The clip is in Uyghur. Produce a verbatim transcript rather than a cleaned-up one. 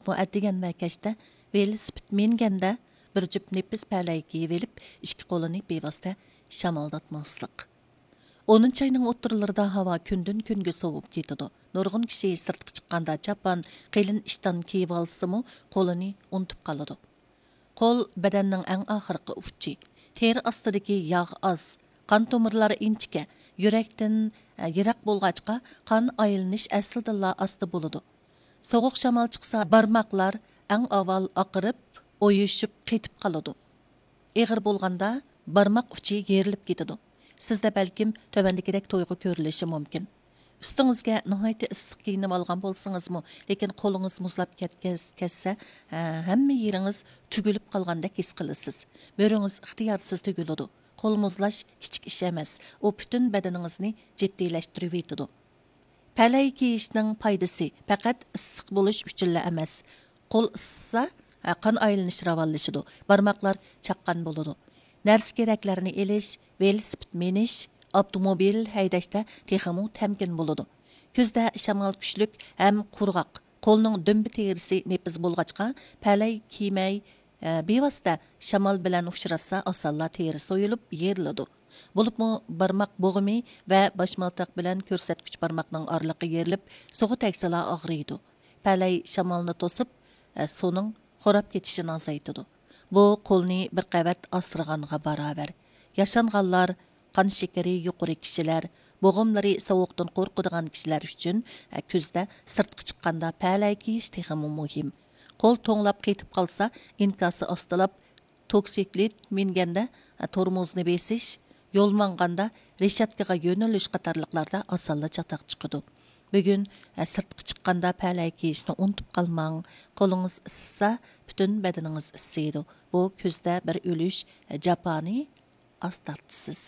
بۇ ئەتىگەن ۋە كەچتە ۋېلىسىپىت مىنگەندە بىر جۈپ نېپىز پەلەي كىيىۋېلىپ، ئىككى قولىنى بىۋاسىتە شامالداتماسلىق. ئونىنچى ئاينىڭ ئوتتۇرىلىرىدا ھاۋا كۈندىن كۈنگە سوۋۇپ كېتىدۇ. نۇرغۇن كىشى سىرتقا چىققاندا چاپان، قېلىن ئىشتان كىيىۋالسىمۇ، قولىنى ئۇنتۇپ قالىدۇ. قول بەدەننىڭ ئەڭ ئاخىرقى ئۇچى. تېرە ئاستىدىكى ياغ ئاز، قان تومۇرلار ئىنچىكە، يۈرەكتىن، ئە، يىراق بولغاچقا، قان ئايلىنىش ئەسلىدىنلا ئاستا بولىدۇ. سوغۇق شامال چىقسا، بارماقلار ئەڭ ئاۋۋال ئاقىرىپ، ئويۇشۇپ قېتىپ قالىدۇ. ئېغىر بولغاندا، بارماق ئۇچى يېرىلىپ كېتىدۇ. سىزدە بەلكىم تۆۋەندىكىدەك تۇيغۇ كۆرۈلۈشى مۇمكىن. ئۈستىڭىزگە ناھايىتى ئىسسىق كىيىنىۋالغان بولسىڭىزمۇ، لېكىن قولىڭىز مۇزلاپ كەتكەس-، كەتسە، ھە، ھەممە يېرىڭىز تۈگۈلۈپ قالغاندەك ھېس قىلىسىز. مۈرىڭىز ئىختىيارسىز تۈگۈلىدۇ. قول مۇزلاش كىچىك ئىش ئەمەس، ئۇ پۈتۈن بەدىنىڭىزنى جىددىيلەشتۈرۈۋېتىدۇ. پەلەي كىيىشنىڭ پايدىسى پەقەت ئىسسىق بولۇش ئۈچۈنلا ئەمەس. قول ئىسسىسا، قان ئايلىنىش راۋانلىشىدۇ، بارماقلار چاققان بولىدۇ. نەرسە كېرەكلەرنى ئېلىش، ۋېلىسىپىت مىنىش، ئاپتوموبىل ھەيدەشتە تېخىمۇ تەمكىن بولىدۇ. كۈزدە شامال كۈچلۈك ھەم قۇرغاق، قولنىڭ دۈمبە تېرىسى نېپىز بولغاچقا، پەلەي كىيمەي، ئە، بىۋاسىتە شامال بىلەن ئۇچراشسا، ئاسانلا تېرە سويۇلۇپ، يېرىلىدۇ. بولۇپمۇ بارماق بوغۇمى ۋە باشمالتاق بىلەن كۆرسەتكۈچ بارماقنىڭ ئارىلىقى يېرىلىپ، سوغۇق تەگسىلا ئاغرىيدۇ. پەلەي شامالنى توسۇپ، ئە، سۇنىڭ خوراپ كېتىشىنى ئازايتىدۇ. بۇ قولنى بىر قەۋەت ئاسرىغانغا باراۋەر. ياشانغانلار، قان شېكىرى يۇقىرى كىشىلەر، بوغۇملىرى سوغۇقتىن قورقىدىغان كىشىلەر ئۈچۈن، ئە، كۈزدە سىرتقا چىققاندا پەلەي كىيىش تېخىمۇ مۇھىم. قول توڭلاپ قېتىپ قالسا، ئىنكاسى ئاستىلاپ، توكسىكلىت مىنگەندە، ئە، تورمۇزنى بېسىش، يول ماڭغاندا رېشاتكىغا يۆنىلىش قاتارلىقلاردا ئاسانلا چاتاق چىقىدۇ. بۈگۈن، ئە، سىرتقا چىققاندا پەلەي كىيىشنى ئۇنتۇپ قالماڭ. قولىڭىز ئىسسىسا، پۈتۈن بەدىنىڭىز ئىسسىيدۇ. بۇ كۈزدە بىر ئۈلۈش، ئە، جاپانى ئاز تارتىسىز.